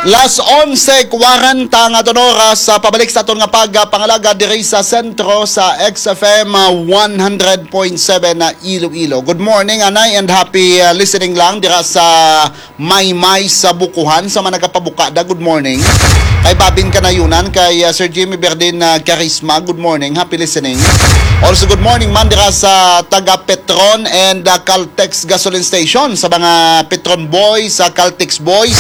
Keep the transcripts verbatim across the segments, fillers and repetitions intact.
Las onse kwarenta nga aton oras sa pabalik sa aton nga pagpangalagad diri sa sentro sa X F M, ah, one hundred point seven na Iloilo. Good morning, anay, and happy, ah, listening lang dira sa Maymay sa Bukuhan. Sa mga nagapabukada, good morning. Kay Babin Kanayunan, kay, ah, Sir Jimmy Berdin, ah, Carisma, good morning, happy listening. Also, good morning man dira sa taga Petron and, ah, Caltex Gasoline Station, sa mga Petron Boys, sa Caltex Boys.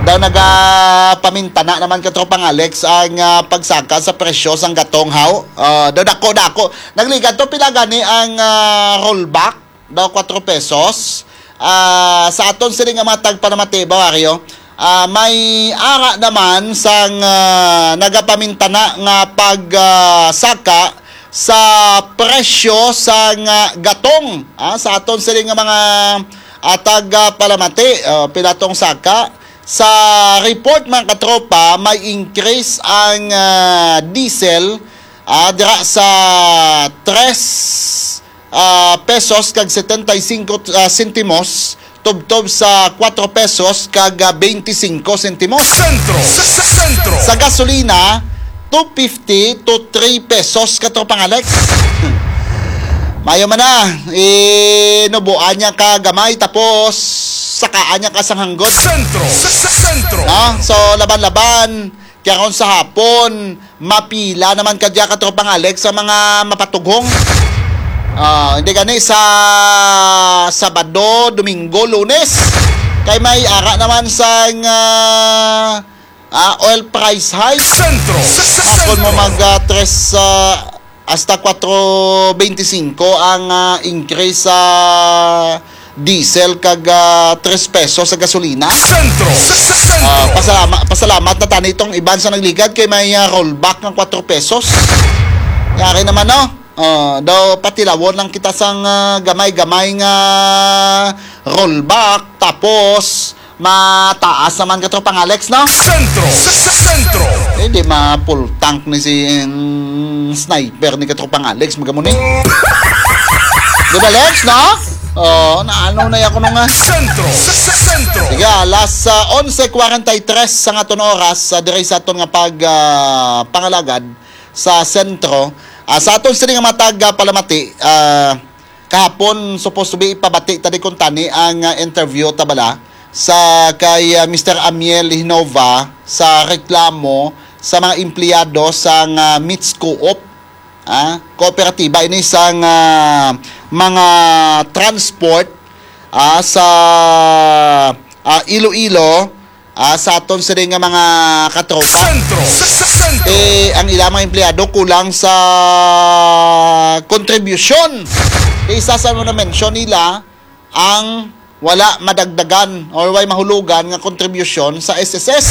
Daw nagapamintana naman ka, Tropang Alex, ang, ah, pagsaka sa presyo sang gatong, haw. Ah, daw dako-dako. Nagligad to, pila gani ang, ah, rollback? Daw kwatro pesos. Ah, sa aton sini nga mga tagpanamati, Bawaryo, ah, may ara naman sang, ah, nagapamintana nga pag, ah, saka sa presyo sang, ah, gatong. Ah, sa aton sini nga mga, ah, tagpalamati, ah, pila tong saka. Sa report, mga katropa, may increase ang, ah, diesel, ah, dira sa tres, ah, pesos kag setenta y cinco, ah, sentimos, tubtob sa kwatro pesos kag, ah, beinti singko sentimos. Sentro, sa, sa sentro. Sa gasolina, two fifty to three pesos, Katropang Alex. Mayo man na, inubuan niya ka gamay, tapos sakaan niya ka sang hanggot. Sentro, sa, sa sentro. No? So, laban-laban, kaya kung sa hapon, mapila naman ka diya, Katropang Alex, sa mga mapatughong. Ah, hindi gani sa Sabado, Domingo, Lunes. Kay may ara naman sang, ah, ah, oil price hike. Sentro, sa, sa, Kung mo sentro. mag, ah, tres, ah, hasta kwatro beinti singko ang, ah, increase sa diesel kag, ah, tres pesos sa gasolina. Sentro, sa, sa sentro. Ah, pasalama-, pasalamat na tani itong iban sa nagligad kay may, ah, rollback ng kwatro pesos. Yari naman, no? Ah, daw patilawon lang kita sang, ah, gamay-gamay nga rollback, tapos mataas naman, Katropang Alex, no? Sentro, sa, sa sentro. Eh, di ma-full tank ni si, mm, sniper ni Katropang Alex, magamo ni. Di ba, Lex, no? Oh, naano na ako nung, ah, Sentro, sa, sa sentro. Sige, alas, ah, onse kwarenta y tres sa aton oras, ah, diri sa aton nga pag, ah, pangalagad sa sentro. Ah, sa aton sini nga matag, ah, palamati, ah, kahapon, supposed to be, ipabati ta di kuntani ang, ah, interview ta bala sa kay, ah, Mister Amiel Hinova sa reklamo sa mga empleyado sa nga Mits Co-op, ah, kooperatiba ini sa nga mga transport, ah, sa, ah, Iloilo, ah, sa aton sini nga mga katropa. Sentro, sa, sa sentro. Eh, ang ilang mga empleyado kulang sa kontribusyon. Isa sa mga mention nila, ang wala madagdagan or way mahulugan nga kontribusyon sa S S S.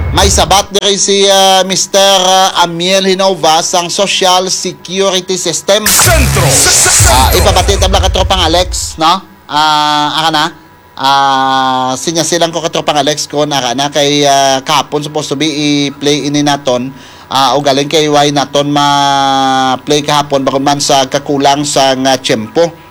May sabat diri si, ah, Mister, ah, Amiel Hinova sang Social Security System. Sentro, sa, sa sentro. Ah, ipabati ta bala, Katropang Alex, no? Ah, aka na. Ah, sinya silang ko, Katropang Alex, ko na, na kay, ah, kahapon supposed to be i-play ini naton. Ah, ugaling kay why naton ma-play kahapon, bakod man sa kakulang sa nga tiyempo.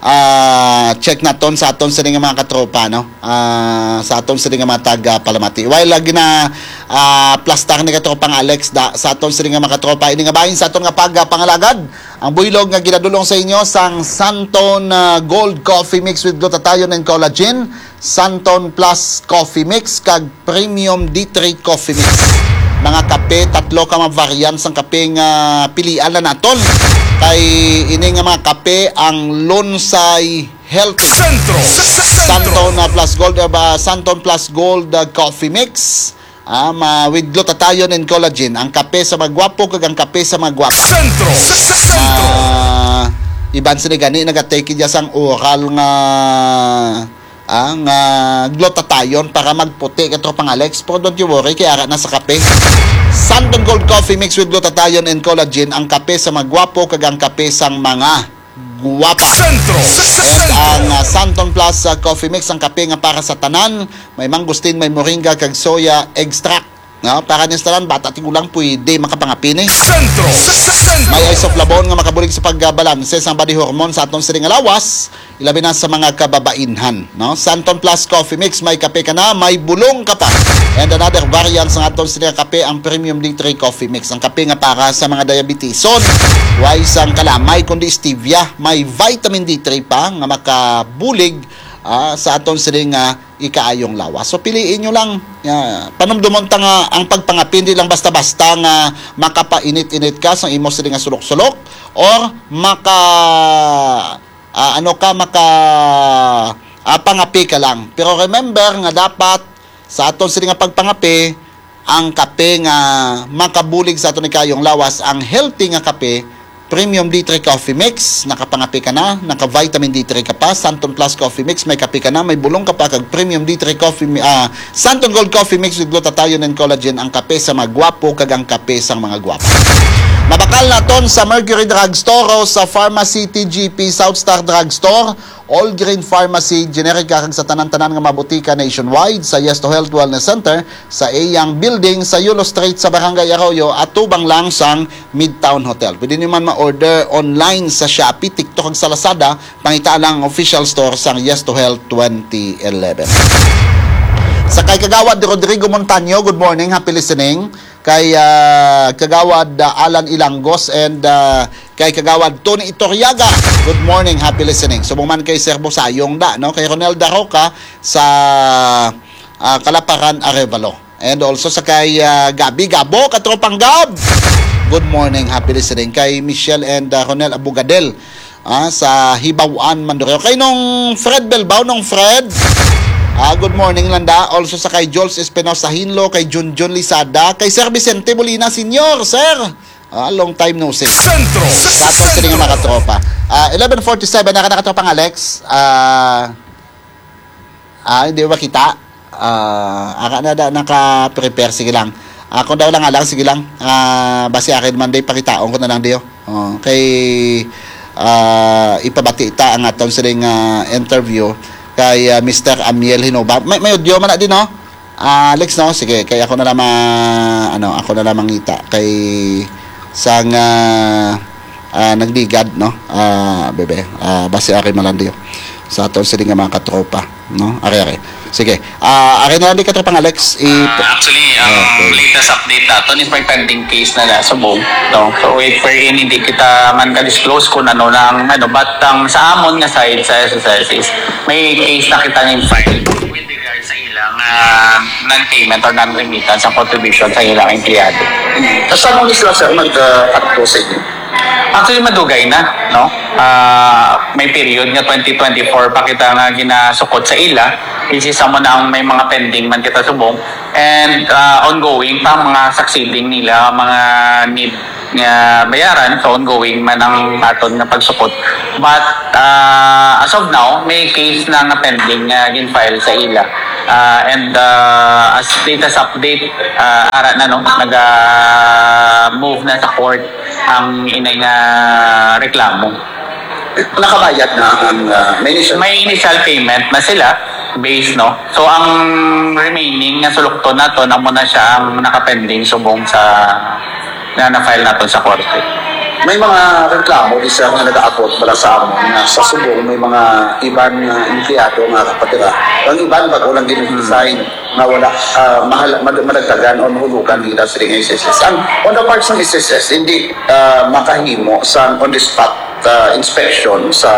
Ah, check naton sa aton sini nga mga katropa, no? Ah, sa aton sini nga mga taga Palamati. While lagi na, ah, plastar ni Katropang Alex da, sa aton sini nga mga katropa, ini nga bahin sa aton nga pagpangalagad. Ang buylog nga ginadulong sa inyo sang Santon, ah, Gold Coffee Mix with Glutathione and Collagen, Santon Plus Coffee Mix, kag Premium D three Coffee Mix. Mga kape, tatlo ka mga variant sang kape nga pilian na naton. Kay ini nga mga kape ang Lunsay Health. Sentro, sa, sa sentro. Santon, ah, Plus Gold, ah, ba, Santon Plus Gold, ah, Coffee Mix. Ah, ma-, with glutathione and collagen, ang kape sa mga gwapo kag ang kape sa mga gwapa. Sentro, sa, sa sentro. Ah, iban sila gani nagatake dya sang oral nga, ah, nga glutathione para magputi, Katropang Alex. Pero don't you worry, kay ara na sa kape. Santon Gold Coffee Mix with glutathione and collagen, ang kape sa mga gwapo kag ang kape sang mga gwapa. Sentro, sa, sa And sentro. ang, ah, Santon Plus, ah, Coffee Mix, ang kape nga para sa tanan, may mangustin, may moringa, kag soya extract. No? Para niya sa tanan, bata, tigulang, pwede makapangapi ni. Sentro. Sentro. May Isoflavone nga makabulig sa pagbalanse sang body hormone sa aton sining nga lawas, ilabi na sa mga kababainhan, no? Santon Plus Coffee Mix, may kape ka na, may bulong ka pa. And another variant sa aton sining nga kape, ang Premium D three Coffee Mix, ang kape nga para sa mga diabetison. Way sang kalamay kundi stevia, may vitamin D three pa nga makabulig, ah, sa aton sining nga ikaayong lawas. So, piliin nyo lang. Ah, panumdumon ta nga ang pagpangapi, hindi lang basta-basta nga makapainit-init ka sa imo sini nga sulok-sulok or maka, ah, ano ka, maka, ah, pangapi ka lang. Pero remember nga dapat sa aton sini nga pagpangapi, ang kape nga makabulig sa aton ikayong lawas, ang healthy nga kape, Premium D three Coffee Mix, nakapangape ka na, naka-vitamin D three ka pa, Santon Plus Coffee Mix, may kape ka na, may bulong ka pa, kag Premium D three Coffee Mi-, ah, Santon Gold Coffee Mix with glutathione and collagen, ang kape sa mga gwapo kag ang kape sang mga gwapo. Mabakal naton sa Mercury Drugstore o sa Pharmacy T G P, South Star Drugstore, All Green Pharmacy, Generica, kag sa tanan-tanan nga mga botika nationwide, sa Yes to Health Wellness Center, sa iyang building sa Yulo Street sa Barangay Arroyo, atubang lang sang Midtown Hotel. Pwede niyo man ma-order online sa Shopee, TikTok, kag sa Lazada. Pangita lang ang official store sang Yes to Health twenty eleven. Sa kay Kagawad Rodrigo Montaño, good morning, happy listening. Kay, ah, Kagawad, ah, Alan Ilangos and, ah, kay Kagawad Tony Itoriaga, good morning, happy listening. Subong man kay Sir Busayong da, no? Kay Ronel Daroca sa, ah, Kalaparan, Arevalo. And also sa kay, ah, Gabi Gabo, Katropang Gab. Good morning, happy listening. Kay Michelle and, ah, Ronel Abugadel, ah, sa Hibaw-an, Mandurrio. Kay Nong Fred Belbao, Nong Fred. Ah, good morning, landa. Also sa kay Jules Espinosa Hinlo, kay Junjun Lisada, kay Sir Vicente Molina Senior, sir. Ah, long time no see. Sentro. Sa aton sini nga mga katropa. Ah, eleven forty-seven, naka, nakatropang Alex. Ah, ah, hindi ba kita? Ah, aka na da naka-prepare, sige lang. Ako daw lang, alang, sige lang. Ah, basi akin man day, pakitaon ko na lang diyo. Oh, kay, ah, ipabati ta ang aton sining, ah, interview kay, ah, Mister Amiel Hinoba. May, may audio man na din, no? Ah, Alex, no? Sige, kay ako na lang ma-, ano, ako na lang mangita kay sang, ah, ah, nagligad, no? Ah, bebe, ah, basi akin malandiyo sa aton sini nga mga katropa, no? Ari, ari. Sige. Ah, akin na lang di katropang Alex. I- Ah, actually, ang Okay. latest update naton is may pending case na nasa Bog, no? So, wait for in, hindi kita man ka-disclose kung ano na ang, ano, but ang sa amon nga side, sa S S S, is may case na kita ning file with regard sa ilang, ah, non-payment or non-remittance sa contribution sa ilang empleyado. Sa saan mo sila, sir, mag-, ah, act sa inyo? Actually, madugay na, no? Ah, may period nga twenty twenty-four pa kita nga ginasukot sa ila, which is amo na ang may mga pending man kita subong, and, ah, ongoing pa ang mga succeeding nila, mga need nga bayaran, so ongoing man ang aton nga pagsukot. But, ah, as of now, may case na nga pending nga gin-file sa ila. Ah, and, ah, as latest update, ah, ara na, no, naga-move na sa court ang inay nga reklamo. Nakabayad na ang, ah, may initial May initial payment na sila, base, no? So, ang remaining nga sulukton naton, amo na siya ang nakapending subong sa, nga na-file naton sa korte. May mga reklamo di siya nga nagaabot bala sa amon nga sa subong may mga iban nga empleyado nga kapatira. Ang iban bago lang gin-resign nga wala, ah, mahal-, mad-, madagdagan o mahulugan nila sa S S S. Ang, on the part sa S S S, hindi, ah, makahimo sa on the spot, ah, inspection sa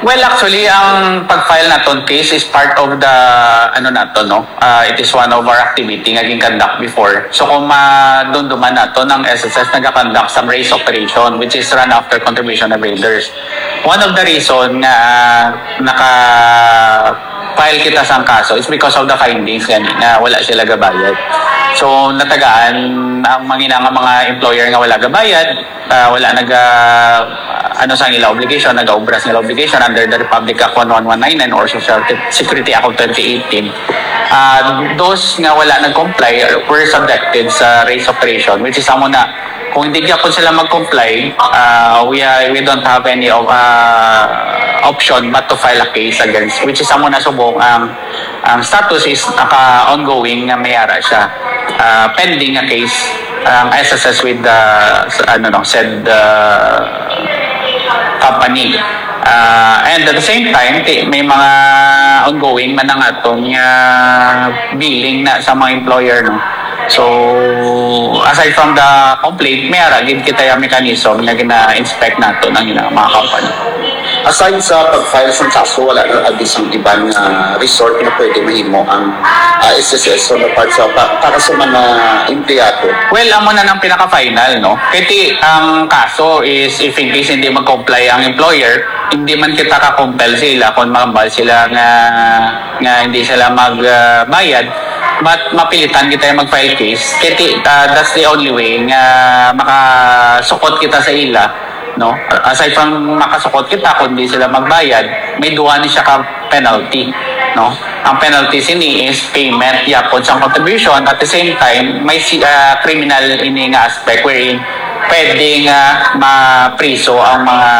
Well, actually, ang pag-file naton case is part of the, ano naton, no? Ah, it is one of our activity nga gin-conduct before. So, kung madumduman naton, ang S S S nagakonduct sa race operation, which is run after contribution evaders. One of the reason nga, ah, naka-file kita sang kaso is because of the findings gani nga wala sila gabayad. So, natagaan ang mga, nga mga employer nga wala gabayad, ah, wala naga, ano sa ila obligation, nagaobra sa ila obligation under the Republic Act one one one nine nine or Social Security Act of twenty eighteen. Ah, those nga wala nag-comply were subjected sa race operation, which is amo na, kung hindi gyapon sila mag-comply, ah, we are, we don't have any of, ah, option but to file a case against, which is amo na subong ang, ang status is naka-ongoing nga may ara siya. uh, pending a case ang S S S with the, sa, ano, no, said, uh, company. Uh, and at the same time, ti-, may mga ongoing man ang aton nga billing na sa mga employer, no? So, aside from the complaint, may ara gid kita yung mechanism nga gina-inspect nato ng mga company. Aside sa pag-file sang kaso, wala na abi sang iban nga resort nga pwede mahimo ang, ah, S S S on the part sa pa-, para sa mga empleyado? Well, amo na nang pinaka-final, no? Kay ti, ang kaso is, if in case hindi mag-comply ang employer, hindi man kita ka-compel sila kung mahambal sila nga, nga hindi sila magbayad, but mapilitan kita yung mag-file case. Kay ti, ah, that's the only way nga makasukot kita sa ila, no? Aside from makasukot kita, kung di sila magbayad, may duha ni siya ka penalty, no? Ang penalty sini is payment yapon sang contribution, at the same time may si, ah, criminal ini nga aspect wherein pwede nga mapriso ang mga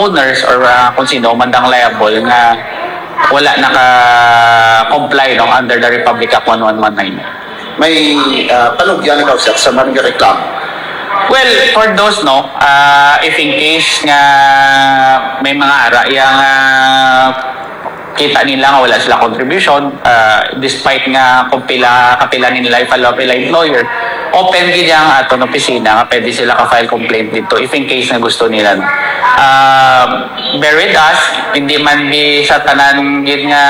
owners or, ah, kung sino man dang liable nga wala naka-comply, no, under the Republic Act one one one nine. May, ah, panugyan ikaw, sir, sa mga reklamo? Well, for those, no, ah, if in case nga may mga ara yang, ah, kita nila nga wala sila contribution, ah, despite nga kung pila, kapila nila i-follow up ila employer, open gid ang aton opisina nga pwede sila ka-file complaint dito if in case nga gusto nila, no. Ah, bear with us, hindi man di sa tanan gid nga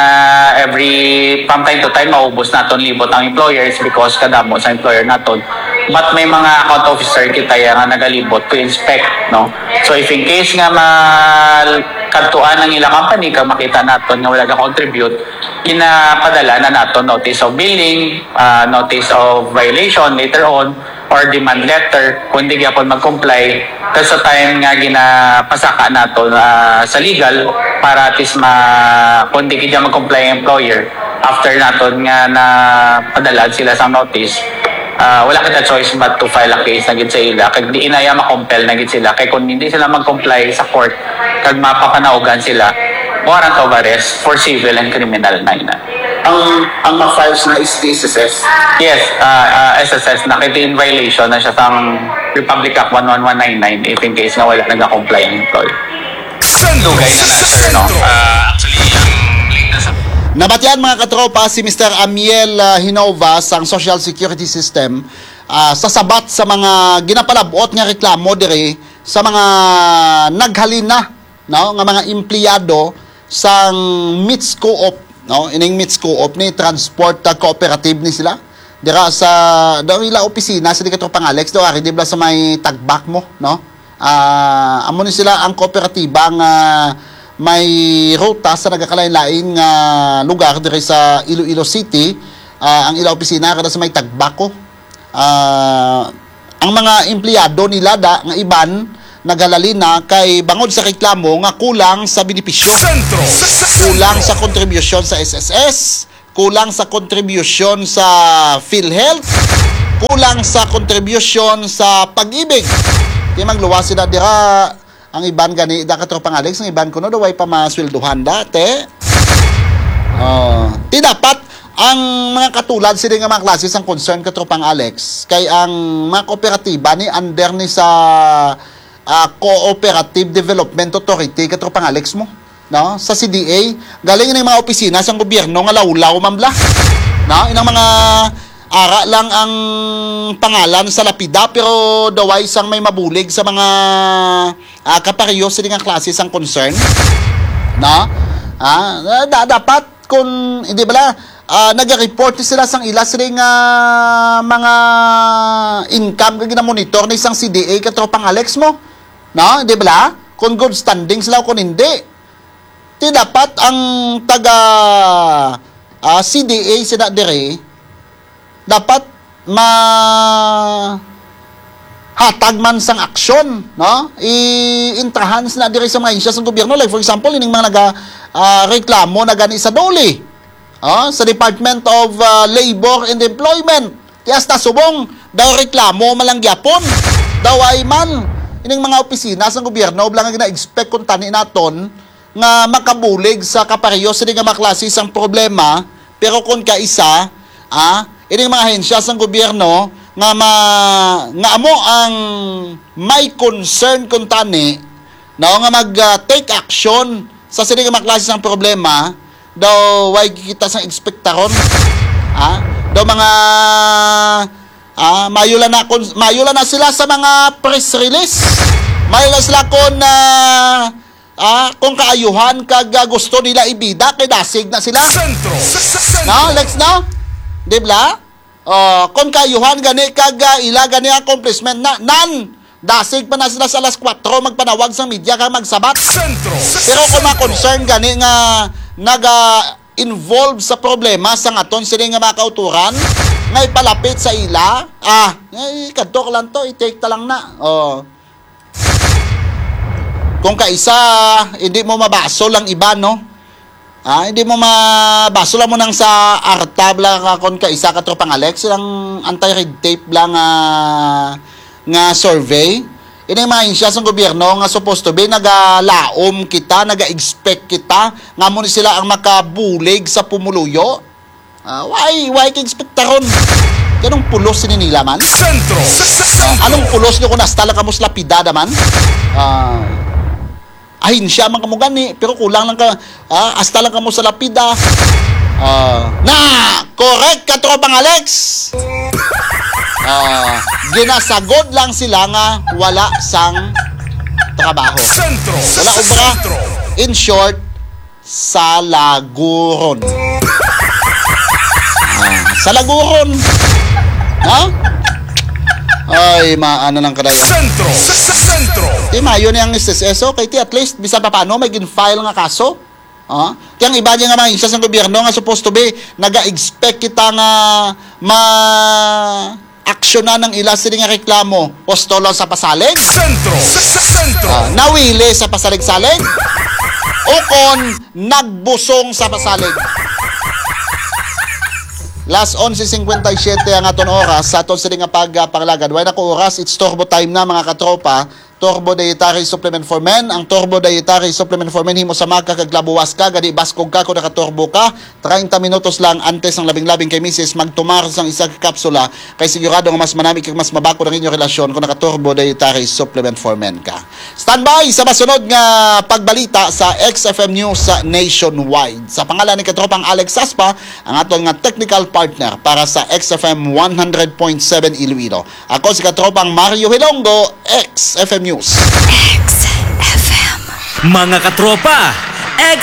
every from time to time maubos naton libot ang employers because kadamo sa employer naton. But may mga account officer kita ya nga nagalibot to inspect, no? So if in case nga ma-, kadtuan ang ila company kag makita naton nga wala ga-contribute, ginapadala na naton notice of billing, ah, notice of violation later on, or demand letter kung di gyapon mag-comply. Tapos sa time nga ginapasaka nato, ah, sa legal para at least ma-, kung di gid mag-comply ang employer, after naton nga napadalaan sila sa notice, ah, wala kita choice but to file a case na gid sa ila. Kag di inaya ma-compel na gid sila. Kay kung hindi sila mag-comply sa court, kag mapapanaugan sila, warrant of arrest for civil and criminal na ina. Ang, ang ma-files na is D S S S? Yes, ah, ah, S S S na kay in violation na siya sang Republic Act one one one nine nine if in case nga wala nag-comply ang employer. Sentro. Dugay na na, sir, no? Sentro. Ah, actually, ang latest. Nabatian, mga katropa, si Mister Amiel, ah, Hinova sang Social Security System, ah, sa sabat sa mga ginapalabot nga reklamo diri sa mga naghalin na, no, nga mga empleyado sang MITS Co-op, no? Ining MITS Co-op ni transport, ah, cooperative ni sila. Dira sa, daw ila opisina sa di katropang Alex, daw ari di bala sa may Tagbak mo, no? Ah, amo ni sila ang kooperatiba nga may ruta sa nagakalain-lain nga lugar diri sa Iloilo City. Ah, ang ila opisina kada sa may Tagbak ko. Ah, ang mga empleyado nila da nga iban nagahalin na kay bangod sa reklamo nga kulang sa benepisyo. Sentro. Kulang sa kontribusyon sa S S S, kulang sa kontribusyon sa PhilHealth, kulang sa kontribusyon sa Pag-ibig. Di magluwas sila dira. Ang iban gani, da katropang Alex, ang iban kuno daw way pa masweldohan dati. Oh, ti dapat ang mga katulad sini nga mga klase sang concern, katropang Alex, kay ang mga kooperatiba ni under ni sa, ah, Cooperative Development Authority, katropang Alex mo, no? Sa C D A, galing ni mga opisina sang gobyerno nga lawlaw man bala. No? Inang mga ara lang ang pangalan sa lapida, pero daw way sang may mabulig sa mga, ah, kapareho sini nga klase sang concern. No? Ah, da-, dapat kung, hindi bala, ah, naga-report ni sila sang ila sini nga mga income nga ginamonitor ni sang C D A, katropang Alex mo. No? Hindi bala? Kung good standing sila o kung hindi. Ti dapat ang taga, ah, C D A sina diri, dapat ma-, hatag man sang aksyon, no? I-intrahan sina diri sa mga ahensya sang gobyerno. Like, for example, ining mga naga, ah, reklamo na gani sa DOLE, oh, sa Department of, ah, Labor and Employment. Ti hasta subong, daw reklamo man lang gyapon. Daw ay man, ining mga opisina sang gobyerno, bala nga gina-expect kung tani naton, nga makabulig sa kapareho sini nga mga klase sang problema, pero kon kaisa, ah, ining mga ahensya sang gobyerno nga ma-, nga amo ang may concern kuntani, no, nga mag, ah, take action sa sini nga mga klase sang problema, daw way kita sang ekspektaron. Ha? Daw mga, ah, mayo lang na kun-, mayo lang na sila sa mga press release. Mayo lang sila kung, ah, ah, kung kaayuhan kag, ah, gusto nila ibida kay dasig na sila. Sentro. Sentro. No, Lex, no? Di ba? Oh, kung kaayuhan gani kag, ah, ila gani accomplishment na, nan, dasig pa na sila sa alas kuwatro magpanawag sang media kag magsabat. Sentro. Pero kung mga concern gani nga naga-involve sa problema sa aton sini nga mga kauturan, nga ipalapit sa ila, ah, ay, kadto ka lang to, i-take ta lang na. Oh. Kung kaisa, hindi mo mabasol ang iba, no? Ah, hindi mo mabasol lang mo nang sa artab lang, ah, kung kaisa, Katropang Alex, ilang anti-red tape lang, ah, nga survey. Ini ang mga ahensya sang gobyerno nga supposed to be nagalaom kita, naga-expect kita, nga mo ni sila ang makabulig sa pumuluyo. Ah, why, why ka ekspektaron? Anong pulos sini nila man? Sentro. Sentro. Anong pulos nyo kung hasta lang kamo sa lapida naman? Ah, ahensya man kamo gani, pero kulang lang ka, ah, hasta lang kamo sa lapida. Ah, na, correct, Katropang Alex. Ah, ginasagod lang sila nga wala sang trabaho. Sentro. Wala, kumbaga, sentro. In short, salaguron. Ah, salaguron. Ha? Ay, maano lang kadaya. Sentro. Sentro. Di mayo ni ang S S S, oh, kay ti at least, bisan pa paano, may gin-file nga kaso. Ah? Ti ang iba niya nga mga ahensya sang gobyerno nga supposed to be, naga-expect kita nga ma-aksyonan ang ila sini nga reklamo. Gusto lang sa pasalig? Sentro. Sentro. Ah, nawili sa pasalig-salig? O kon nagbusong sa pasalig? Las onse cincuenta y siete ang aton oras sa aton sini nga pag, ah, pangalagad. Way na ko oras, it's turbo time na, mga katropa. Turbo Dietary Supplement for Men. Ang Turbo Dietary Supplement for Men, himo sa maka kag labuwas ka, gani baskog ka kung nakaturbo ka. Treinta minutos lang antes ang labing-labing kay misis magtumar sang isa ka kapsula, kay sigurado nga mas manami kag mas mabakod ang inyong relasyon kung naka-Turbo Dietary Supplement for Men ka. Standby sa masunod nga pagbalita sa X F M News Nationwide. Sa pangalan ni Katropang Alex Saspa, ang aton nga technical partner para sa X F M one hundred point seven Iloilo. Ako si Katropang Mario Hilonggo, X F M News. X F M. Mga katropa,